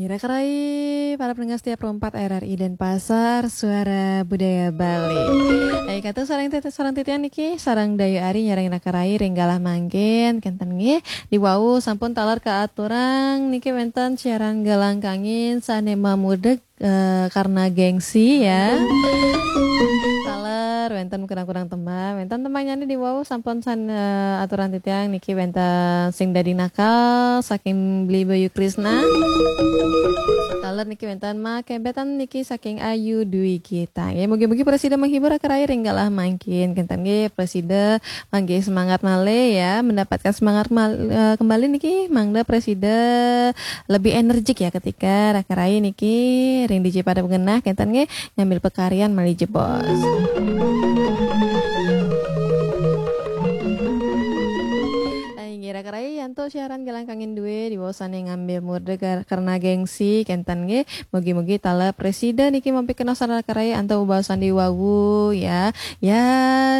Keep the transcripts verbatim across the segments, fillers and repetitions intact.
Rakarai, para pendengar setia Pro empat R R I Denpasar, Suara Budaya Bali. Ayo kata sareng tete sareng titiang niki, sareng Dayu Ari nyareng rakarai ring galah mangkin, kenten nggih. Di wau sampun taler kaaturang niki wenten siaran Gelangkangin sane mamudeg, eh, karena gengsi ya. Taler wenten kurang-kurang tembang, wenten tembangnyane di wau sampun san, eh, aturan titiang niki wenten sing dadi nakal saking Beli Bayu Krisna. Taler niki wenten makebetan niki saking Ayu Dwi Gita. Ya, mugi-mugi prasida menghibur rakarai ring galah mangkin. Kenten nggih prasida mangke semangat malih ya, mendapatkan semangat mal- eh, kembali niki mangda prasida lebih energik ya ketika rakarai niki ring diji pada bengenah kenten nggih ngambil pekarian malih jebos. Inggih rakarai, antuk siaran Gelangkangin due di wau sane ngambil murda gar- karena gengsi kenten nggih. Mugi-mugi taler prasida niki mampikenoh sareng rakarai antuk bebaosan di wau ya. Ya,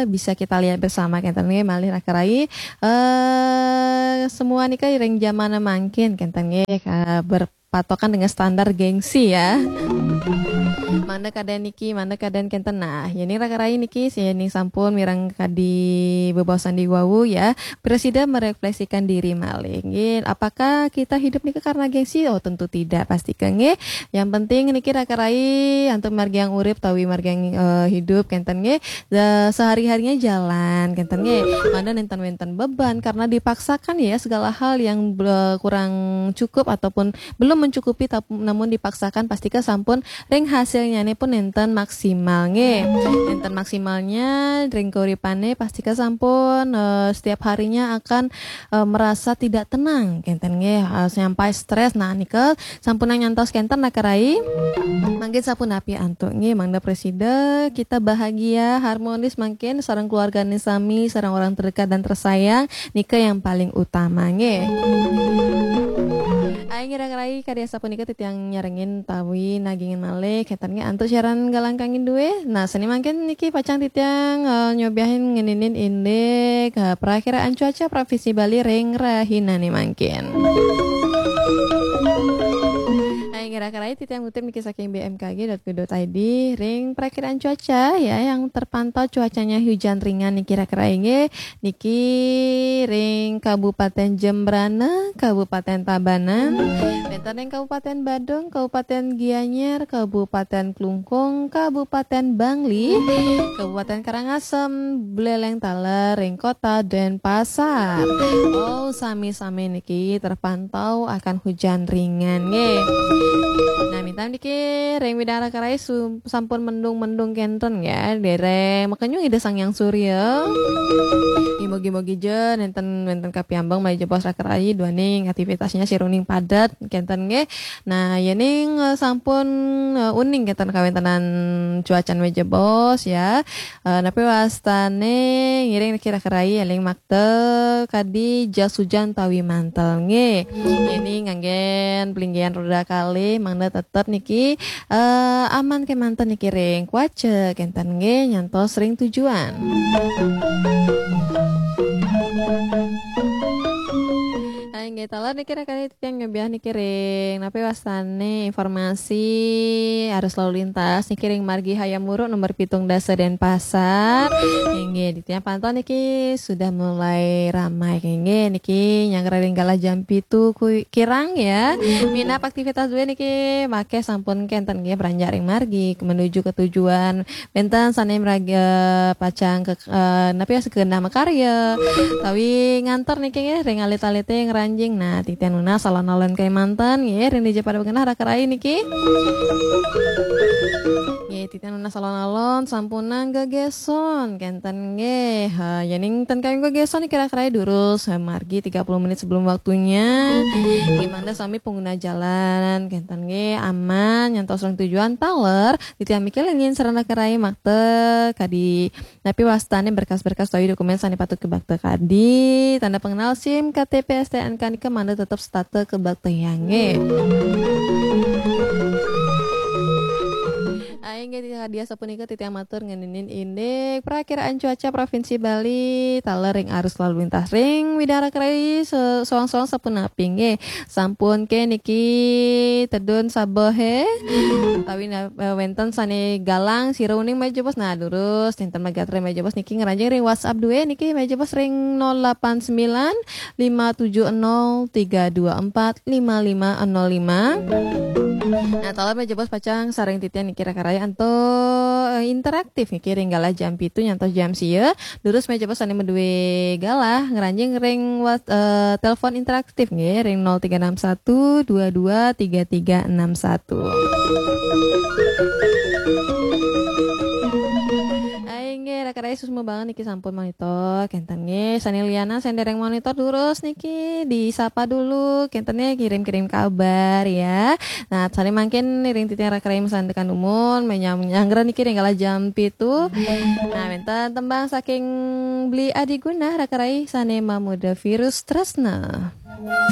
bisa kita lihat bersama kenten nggih malih rakarai, eh semua nika ring jaman mangkin kenten nggih, eh, berpatokan dengan standar gengsi ya. Mangda kaden niki, mangda kaden kenten. Nah, yening rakarai niki, yening sampun mireng kadi bebaosan di wau ya. Prasida merefleksikan diri malih. Nggih, apakah kita hidup nika karena gengsi? Oh, tentu tidak, pasti nggih. Yang penting niki rakarai antuk margiang urip tawi margiang, eh, hidup kenten nggih. Da- sehari-harinya jalan kenten nggih. Mangda nenten wenten beban karena dipaksakan ya segala hal yang be- kurang cukup ataupun belum mencukupi tap- namun dipaksakan pastika sampun ring hasilnyane pun nenten maksimal nggih. Nenten maksimalnya ring kauripane pastika sampun, eh, setiap harinya akan, eh, merasa tidak tenang kenten nggih, eh, sampai stres. Nah, nika sampunang nyantos kenten rakarai. Mangkin sapunapi antuk nggih, mangda prasida kita bahagia, harmonis mangkin sareng keluargane sami, sareng orang terdekat dan tersayang, nika yang paling utama nggih. Ayo ngira rakarai kadi asapunika titiang nyarengin tawi nagingin malih kenten nggih antuk siaran Gelangkangin due. Nah, sane mangkin niki pacang titiang, eh, nyobiahin ngeninin indik, eh, perakiraan cuaca Provinsi Bali ring rahinane mangkin. Nah, kira-kira titiang ngutip niki saking B M K G dot go dot I D ring perakiraan cuaca ya, yang terpantau cuacanya hujan ringan niki kira-kira nggih. Niki ring Kabupaten Jembrana, Kabupaten Tabanan, wenten ring Kabupaten Badung, Kabupaten Gianyar, Kabupaten Klungkung, Kabupaten Bangli, Kabupaten Karangasem, Buleleng taler ring Kota Denpasar. Oh, sami-sami niki terpantau akan hujan ringan nggih. Nah, minta niki ring widang rakarai su- sampun mendung-mendung kenten ya, dereng makenyung Ida Sang Hyang Surya. Mugi-mugi ja nenten wenten kapiambeng malih jebos rakarai duaning aktivitasnya siruning padet kenten nggih. Nah, yening, eh, sampun, eh, uning kenten kawentenan cuacan malih jebos ya. Eh, napi wastane ngiring niki rakarai eling makta kadi jas hujan tawi mantel nggih. Ini nganggen pelinggihan roda kalih mangda tetep niki, eh, aman kemanten niki ring kuaca kenten nggih nyantos ring tujuan. Nah, inggih taler niki rakarai titiang nyobiah niki ring napi wastane informasi arus lalu lintas niki ring margi Hayam Wuruk nomor pitung dasa Denpasar. Inggih, titiang pantau niki sudah mulai ramai. Inggih, niki nyanggra ring galah jam pitu ku- kirang ya. Minab aktivitas due niki makeh sampun kenten nggih beranjak ring margi menuju ke tujuan. Wenten sane meraga pacang ke, eh, napi ya, segenah makarya. Tawi nganter niki nggih ring alit-alite ngranjing. Nah, titiang nunas alon-alon kemanten nggih ring dija pada bengenah rakarai niki. Nggih, titiang nunas alon-alon sampunang gegeson kenten nggih. Ha, yening ten kayun gegeson niki rakarai durus, ha, margi tiga puluh menit sebelum waktunya. Nggih, mangda sami pengguna jalan kenten nggih aman nyantos ring tujuan taler. Titiang mikil nggih sareng rakarai makta kadi napi wastane berkas-berkas tawi dokumen sane patut kabakta kadi, tanda pengenal SIM, K T P, S T N K nika mangda tetep setata kabaktayang nggih. Aing Inggih, hadiah sapunika titiang matur ngeninin indik Prakiraan Cuaca Provinsi Bali, taler ring arus lalu lintas ring widang raka rai se-, soang-soang sapunapi nggih. Sampun ké niki tedun sabeh, utawi na-, eh, wénten sané galang sira uning mejebos. Nah, durus, nénten magatra mejebos niki ngranjing ring WhatsApp dué niki mejebos ring nol delapan sembilan lima tujuh nol tiga dua empat lima lima nol lima. Nah, taler mejebos pacang sareng titiang niki raka rai antuk, eh, interaktif niki ring galah jam pitu nyantos jam sia. Durus mejebos sané madué galah ngranjing ring wat-, eh, telepon interaktif nggih ring nol tiga enam satu dua dua tiga tiga enam satu. Ai nggih, raka rai suksma banget niki sampun monitor. Kénten nggih, sané lianan sané dereng monitor durus niki disapa dulu. Kénten nggih, kirim-kirim kabar ya. Nah, sané mangkin iring titiang raka rai masandekan dumun, menyang-, nyanggra niki ring galah jam pitu. Nah, wénten tembang saking Bli Adi Gunah raka rai sané mamurda Virus Tresna.